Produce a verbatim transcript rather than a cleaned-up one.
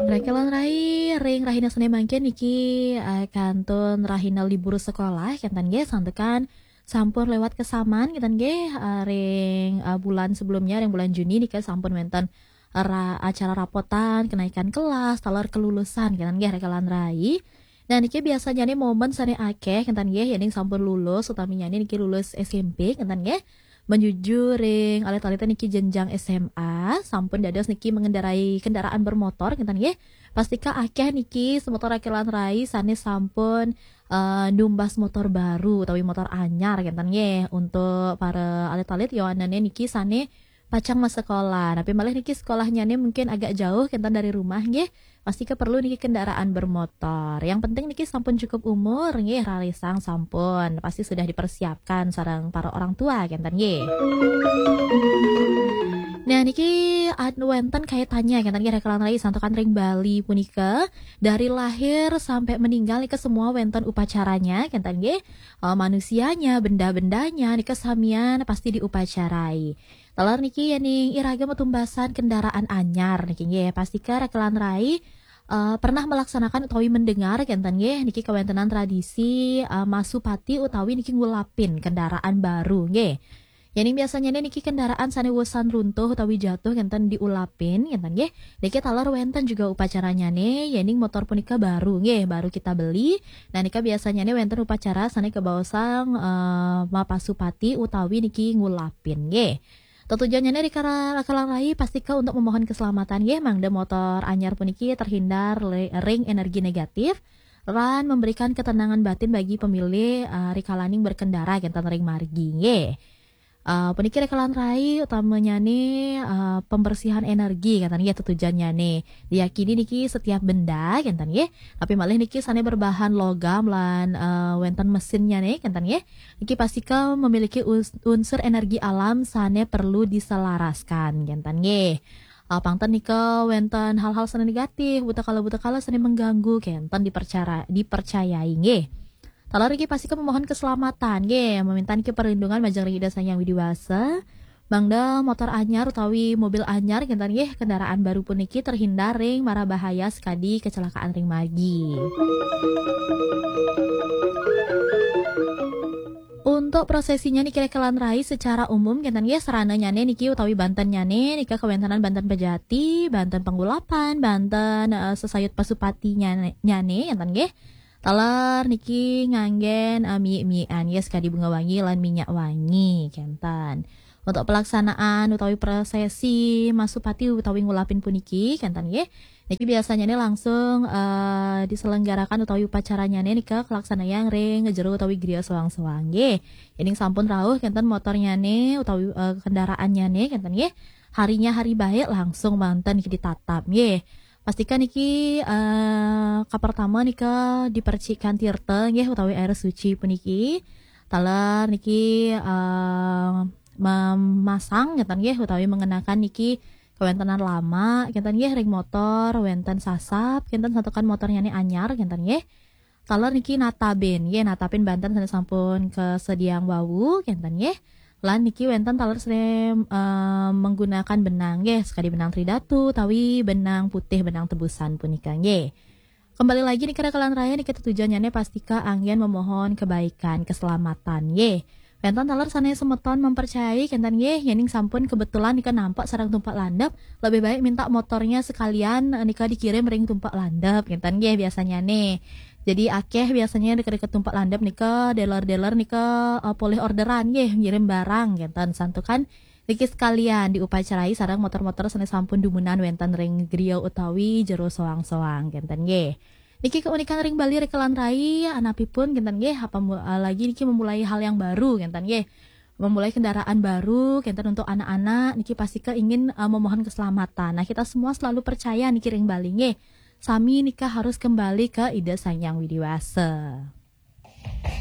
Rekelan rai, ring rahina sane mangkin niki, eh, kantun rahina libur sekolah, kenten nggih, santukan sampun lewat kesaman, kenten nggih, eh, ring, eh, bulan sebelumnya, ring bulan Juni nika sampun wenten ra-, acara rapotan, kenaikan kelas, taler kelulusan, kenten nggih, rekelan rai. Nah, niki biasanya nih momen sane akeh, kenten nggih, yening sampun lulus, utaminya nih niki lulus S M P, kenten nggih. Menuju ring alit-alit niki jenjang S M A, sampun dados niki mengendarai kendaraan bermotor, kenten nggih. Pastika akeh niki semeton rekelan rai sane sampun, eh, numbas motor baru utawi motor anyar, kenten nggih. Untuk para alit-alit, yowanane niki sane pacang masekolah. Tapi malih niki sekolahnya nih mungkin agak jauh, kenten, dari rumah nggih. Pastika perlu niki kendaraan bermotor. Yang penting niki sampun cukup umur nggih, rarisang sampun. Pasti sudah dipersiapkan sareng para orang tua, kenten nggih. Nah, niki ad-, wenten kaitannya, kenten nggih, rekelan rai, santukan ring Bali punika, dari lahir sampai meninggal nika semua wenten upacaranya, kenten nggih. Eh, manusianya, benda-bendanya nika samian pasti diupacarai. Taler niki yening iraga matumbasan kendaraan anyar niki nggih, pastika rekelan rai, eh, pernah melaksanakan utawi mendengar, kenten nggih, niki kawentenan tradisi, eh, masupati utawi niki ngulapin kendaraan baru nggih. Yening biasanya niki kendaraan sane wusan runtuh utawi jatuh, kenten, diulapin, kenten nggih. Niki taler wenten juga upacaranya nih, yening motor punika baru nggih, baru kita beli. Nah, nika biasanya nih wenten upacara sane kebaosang, eh, mapasupati utawi niki ngulapin nggih. Tetujuannya nih, rekelan rai, pastika untuk memohon keselamatan nggih, mangda motor anyar puniki terhindar le-, ring energi negatif lan memberikan ketenangan batin bagi pemilih, eh, rikalaning berkendara, kenten, ring margi nggih. Eh, puniki rekelan rai utamanya nih, eh, pembersihan energi, kenten nggih, tetujuannya nih. Diyakini niki setiap benda, kenten nggih. Tapi malih niki sane berbahan logam lan, eh, wenten mesinnya nih, kenten nggih. Niki pastika memiliki uns-, unsur energi alam sane perlu diselaraskan, kenten nggih. Eh, pangten nika wenten hal-hal sane negatif, buta kala, buta kala sane mengganggu, kenten, dipercara-, dipercayai nggih. Taler niki pastika memohon keselamatan nggih, meminta niki perlindungan majeng ring Ida Sang Hyang Widi Wasa. Mangda motor anyar utawi mobil anyar, kenten nggih, kendaraan baru puniki terhindar ring mara bahaya sakadi kecelakaan ring margi. Untuk prosesinya niki, rekelan rai, secara umum, kenten nggih, sarananyane niki utawi bantennyane nika kawentenan banten pejati, banten pengulapan, banten, eh, sesayut pasupati nyane, nyane, kenten nggih. Taler niki nganggen, eh, miyik-miyikan, yes, kadi bunga wangi lan minyak wangi, kenten. Untuk pelaksanaan utawi prosesi masupati utawi ngulapin puniki, kenten nggih. Niki biasanya nih langsung, eh, diselenggarakan utawi upacaranya nih nika kelaksanayang ring jero utawi griya soang-soang nggih. Yening sampun rauh, kenten, motornyane utawi, eh, kendaraannyané, kenten nggih. Harinya hari baik, langsung manten niki ditatap nggih. Pastika niki, eh, kapertama nika dipercikan tirta nggih, utawi air suci puniki. Taler niki, eh, memasang, kenten nggih, utawi mengenakan niki kawentenan lama, kenten nggih, ring motor, wenten sasap, kenten, santukan motornyane anyar, kenten nggih. Taler niki natabin nggih, natabin banten sane sampun kasediaang wau, kenten nggih. Lan niki wenten taler sane, eh, menggunakan benang nggih, sakadi benang tridatu utawi benang putih, benang tebusan punika nggih. Kembali lagi nika, rekelan rai, nika tetujuannyane pastika anggen memohon kebaikan, keselamatan nggih. Wenten taler sane semeton mempercayai, kenten nggih, yening sampun kebetulan nika nampak sareng tumpak landep, lebih baik minta motornya sekalian, eh, nika dikirim ring tumpak landep, kenten nggih, biasanya nih. Jadi akeh biasanya deket-deket tumpak landep nika, dealer-dealer nika, eh, polih orderan nggih, ngirim barang, kenten. Santukan niki sekalian diupacarai sareng motor-motor sane sampun dumunan wenten ring griya utawi jero soang-soang, kenten nggih. Niki keunikan ring Bali, rekelan rai, anapipun, kenten nggih, apa mu-, eh, lagi niki memulai hal yang baru, kenten nggih. Memulai kendaraan baru, kenten, untuk anak-anak, niki pastika ingin, eh, memohon keselamatan. Nah, kita semua selalu percaya niki ring Bali nggih. Sami nika harus kembali ke Ida Sang Hyang Widi Wasa.